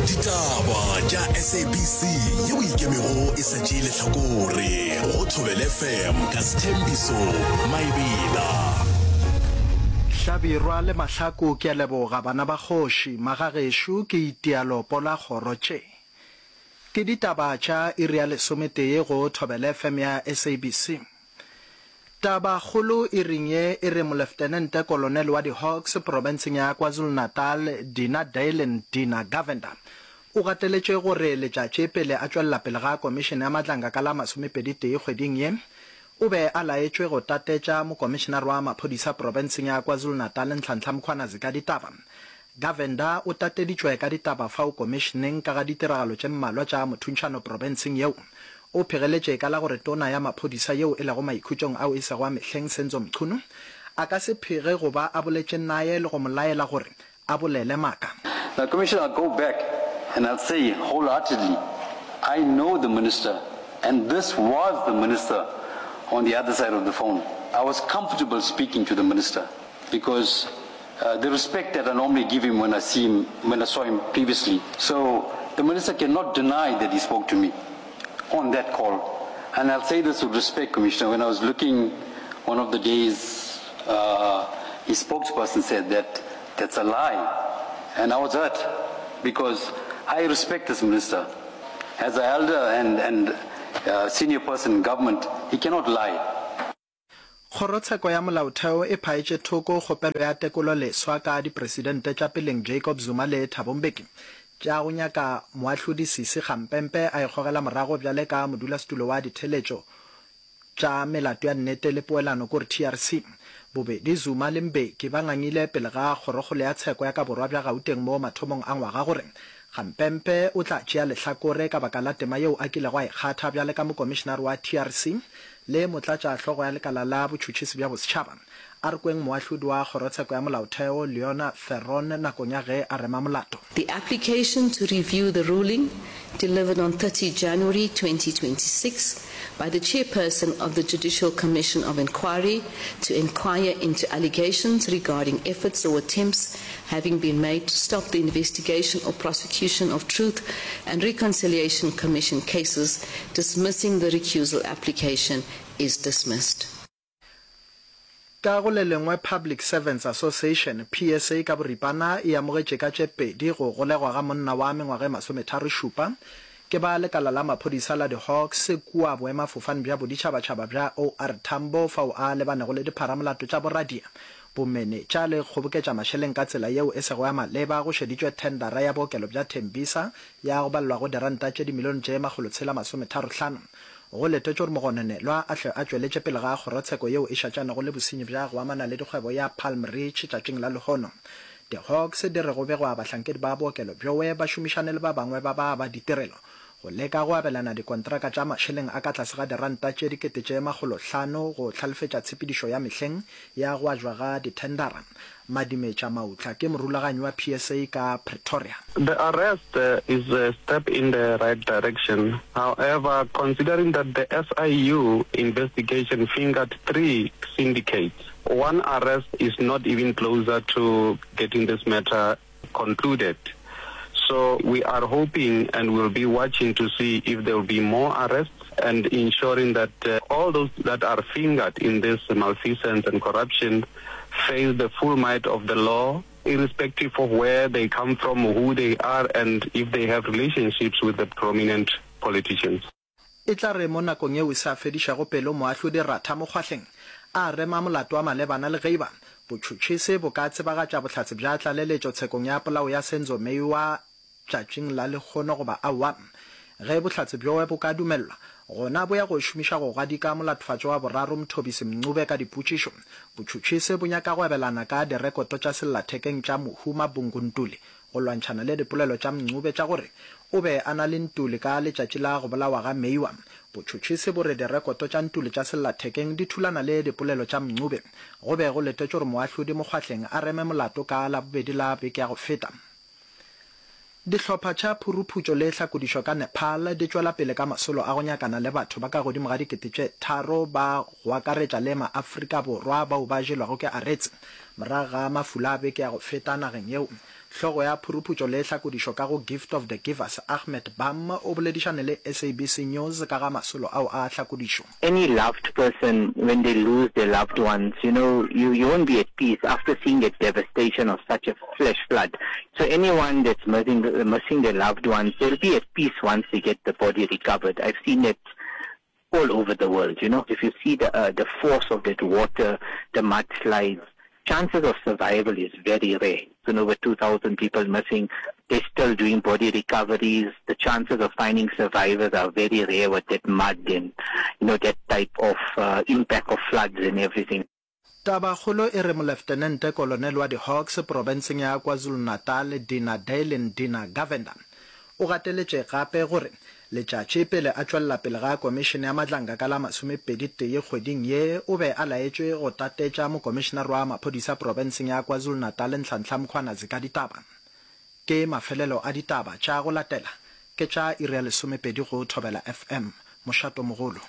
Ditaba tša SABC yeo e ikemego e sa tšee lehlakore go Thobela FM ka Sthembiso Maebela. Hlabirwa le Mahlaku ke a leboga bana ba kgoši, magagešo ke itia lopo la kgoro tše. Ke ditaba tša iri ya lesometee go Thobela FM ya SABC. Tabakgolo iring ye e re Moleftenente Kolonele wa di-Hawks profenseng ya KwaZulu-Natal, Dina Daylen Dina Govender, o gateletše gore letšatši pele a tšwelela pele ga Komišene ya Matlanga ka la masomepeditee kgweding ye, o be a laetšwe go tatetša Mokomišenare wa Maphodisa profenseng ya KwaZulu-Natal Nhlanhla Mkhwanazi ka ditaba. Govender o tateditšwe ka ditaba fao komišeneng ka ga ditiragalo tše mmalwa tša mothuntšhano profenseng yeo. O phegeletše ka la gore tona ya maphodisa yeo e lego maikhutšong ao e sego a mehleng Senzo Mchunu a ka se phege go ba a boletše naye le go mo laela gore a bolele maaka. Now Commissioner I'll go back and I'll say wholeheartedly I know the minister and this was the minister on the other side of the phone. I was comfortable speaking to the minister because the respect that I normally give him when I see him, when I saw him previously. So the minister cannot deny that he spoke to me on that call. And I'll say this with respect, Commissioner, when I was looking one of the days, uh, his spokesperson said that that's a lie. And I was hurt because I respect this minister. As an elder and, and uh, senior person in government, he cannot lie. Kgorotsheko ya Molaotheo e phaetše thoko kgopelo ya tekolo leswa ka dipresidente tša peleng Jacob Zuma le Thabo Mbeki tša go nyaka moahlodi Sisi Kgampempe a ikgogela morago bjale ka modulasetulo wa ditheletšo tša melato ya nnete le poelano kore TRC. Bobedi Zuma le Mbeki ba ngangile pele ga kgorokgolo ya tsheko ya ka borwa bja Gauteng mo mathomong a ngwaga gore Kgampempe o tla tšea lehlakore ka baka la tema yeo a kilego a e kgatha bjale ka mokomišenare wa TRC le motlatšahlogo ya lekala la botšhotšhisi bja bosetšhaba. A re kweng moahlodi wa kgorotsheko ya molaotheo Leona Theron nakong ya ge a rema molato. The application to review the ruling delivered on 30 January 2026 by the chairperson of the Judicial Commission of Inquiry to inquire into allegations regarding efforts or attempts having been made to stop the investigation or prosecution of Truth and Reconciliation Commission cases, dismissing the recusal application is dismissed. Ka go le lengwe Public Servants Association, PSA, ka boripana e amogetše ka tše pedi go golegwa ga monna wa mengwaga e masometharošupa ke ba lekala la maphodisa la di-Hawks kua boemafofane bja boditšhabatšhaba bja OR Tambo fao a lebanego le dipharamolato tša boradia Bomenetša le kgoboketša mašeleng ka tsela yeo e sego ya maleba go šeditšwe thendara ya bookelo bja Tembisa ya go balelwa go diranta tše dimilione tše makgolotshela masometharohlano. Go letetšwe gore mogononelwa a hle a tšweletše pele ga kgorotsheko yeo e šatšanego le bosenyi bja go amana le dikgwebo ya Palm Ridge tšatšing la lehono. Di-Hawks di re go begwa bahlankedi ba bookelo bjowe ba šomišane le ba bangwe ba ba ba ditirelo go leka go abelana dikontraka tša mašeleng a ka tlase ga diranta tše dikete tše makgolohlano go hlalefetša tshepedišo ya mehleng ya go ajwa ga dithendara. Madimetša Mautla ke morulaganyi wa PSA ka Pretoria. The arrest is a step in the right direction. However, considering that the SIU investigation fingered three syndicates, one arrest is not even closer to getting this matter concluded. So we are hoping and we'll be watching to see if there will be more arrests and ensuring that uh, all those that are fingered in this malfeasance and corruption face the full might of the law irrespective of where they come from, who they are, and if they have relationships with the prominent politicians. E tla re mo nakong yeo e sa fedišago pelo moahlodi Ratha Mokgwahleng a rema molato wa malebana le geiba botšhotšhisi bo ka tsebagatša bohlatse bja tlaleletšo tshekong ya polao ya Senzo Meyiwa tšatšing la lehono goba aowa. Ge bohlatse bjowe bo ka dumelelwa, gona bo ya go šomiša go gadika molatofatšwa wa boraro Mthobisi Mncube ka dipotšišo. Botšhotšhisi bo nyaka go abelana ka direkoto tša sellathekeng tša mohu Mabungu Ntuli Go lwantšhana le dipolelo tša Mncube tša gore o be a na le Ntuli ka letšatši la go bolawa ga Meyiwa, botšhotšhisi bo re direkoto tša Ntuli tša sellathekeng di thulana le dipolelo tša Mncube. Go be go letetšwe gore moahlodi Mokgwahleng a reme molato ka Labobedi la beke ya go feta. Dihlopha tša phuruphutšo le hlakodišo ka Nepal di tšwela pele ka masolo a go nyakana le batho ba ka godimo ga 3000 ba go akaretša le maAfrika Borwa bao ba jelwago ke aretse morago ga mafula a beke ya go feta nageng yeo. Hlogo ya phuruphutšo le hlakodišo ka go Gift of the Givers, Ahmed Bham, o boledišane le SABC News ka ga masolo ao a hlakodišo. Any loved person when they lose their loved ones, you know, you, you won't be at peace after seeing the devastation of such a flash flood. So anyone that's missing, missing their loved ones, they'll be at peace once they get the body recovered. I've seen it all over the world, you know. If you see the, uh, the force of that water, the mudslides, chances of survival is very rare. So over 2,000 people missing. They're still doing body recoveries. The chances of finding survivors are very rare with that mud and, you know, that type of uh, impact of floods and everything. Tabakgolo e re Moleftenente Kolonel wa di-Hawks profenseng ya KwaZulu-Natal Dina Daylin Dina Govender o gateletše gape gore letšatši pele a tšwelela pele ga Komišene ya Madlanga ka la masomepedi-tee kgweding ye o be a laetšwe go tatetša Mokomišenare wa Maphodisa profenseng ya KwaZulu-Natal Nhlanhla Mkhwanazi ka ditaba. Ke mafelelo a ditaba tša go latela ke tša iri ya lesomepedi go Thobela FM, mošatomogolo.